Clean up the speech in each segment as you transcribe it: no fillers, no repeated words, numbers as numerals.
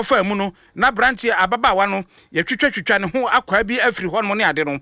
kɔfaa mu no, na aberanteɛ, ababaawa no, yɛtwitwatwitwa ne ho akwaa bi afiri hɔnom ne ade no,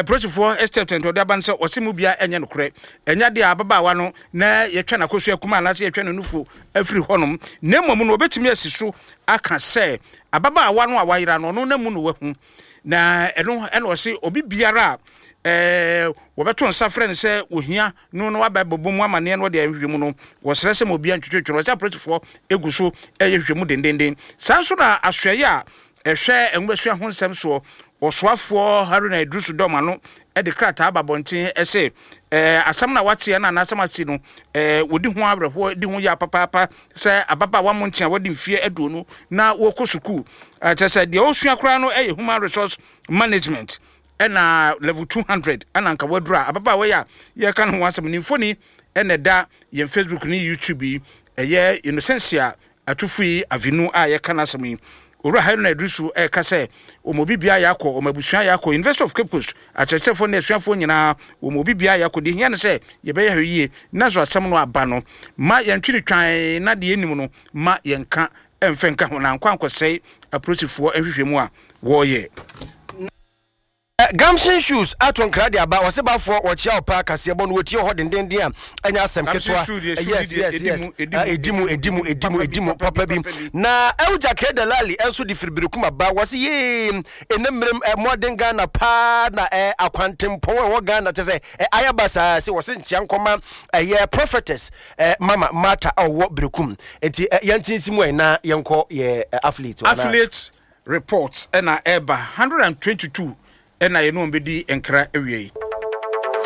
polisifoɔ statement a ɔde aba no sɛ ɔse mu biara ɛnyɛ nokorɛ. Ɛnyɛ adeɛ a ababaawa no na yɛtwa n'akosua kuma anaasɛ yɛtwa ne nufu afiri hɔnom, na mmom no wɔbɛtumi asi so aka sɛ ababaawa no a wayera no, ɔno na mu no wahu. Na ɛno ɛna ɔse obi biara a wɔbɛto nsa frɛ no sɛ ohia no na waba abɛbɔ mu amanneɛ na ɔde ayɛ nhwehwɛmu no, wɔsrɛ sɛ ma obiara ntwetwetwe no. Ɔsɛ apolisifoɔ gu so yɛ nhwehwɛmu dendenden. Saa nso na asoɛeɛ a ɛhwɛ nwomasua ho nsɛm soɔ, ɔsoafoɔ Haruna Iddrisu dɔm ano de krataa aba abɔnten se asɛm no a wɔateɛ no anaa asɛm asi no, wɔdi ho awerɛhoɔ, di ho yaw papaapa sɛ ababaawa Monte a wadi mfeɛ 20 na wɔrekɔ sukuu, kyerɛ sɛ deɛ ɔresua koraa no yɛ Human Resource Management. Ɛna level 200 ɛna nka waduru a ababaawa yi a yɛreka ne ho asɛm ne mfoni ɛna ɛda yɛn Facebook ne YouTube yi ɛyɛ Innocentia Atufui Avinu a yɛka n'asɛm yi. Owura Haruna Iddrisu ɛreka sɛ wɔn obi biara yɛ akɔ, wɔn abusua yɛ akɔ, University of Cape Coast akyerɛkyerɛfoɔ ne asuafoɔ nyinaa wɔn obi biara yɛ akɔ. Deɛ ehia ne sɛ yɛbɛyɛ hwɛ yie na so asɛm no aba no ma yɛntwe no twann na deɛ yɛnim no ma yɛnka ɛmfa nka ho na ankɔ ankɔsɛe apolisifoɔ nhwehwɛmu a wɔreyɛ. Gamson Shoes ato nkra de aba, ɔse bafoɔ wɔkyea wo paa kaseɛbɔ no wɔtie wɔ hɔ dendenden a ɛnyɛ asɛm ketewa. Yes yes yes ɛdi mu ɛdi mu ɛdi mu ɛdi mu papa bi. Na Elja K Delali nso de firi Berekum aba, wɔse yee ɛnɛ mmerem mmɔden Ghana paa na akwantempɔn a ɛwɔ Ghana kyɛ sɛ ayɛ basaa se wɔse nkyea nkɔma ɛyɛ prophetess Mama Martha a ɔwɔ Berekum. Nti yɛnte nsi mu ɛ na yɛnkɔ yɛ affiliate hɔ anaa? Affiliate report na ɛreba, 122 na yɛne wɔn bɛdi nkra awiei.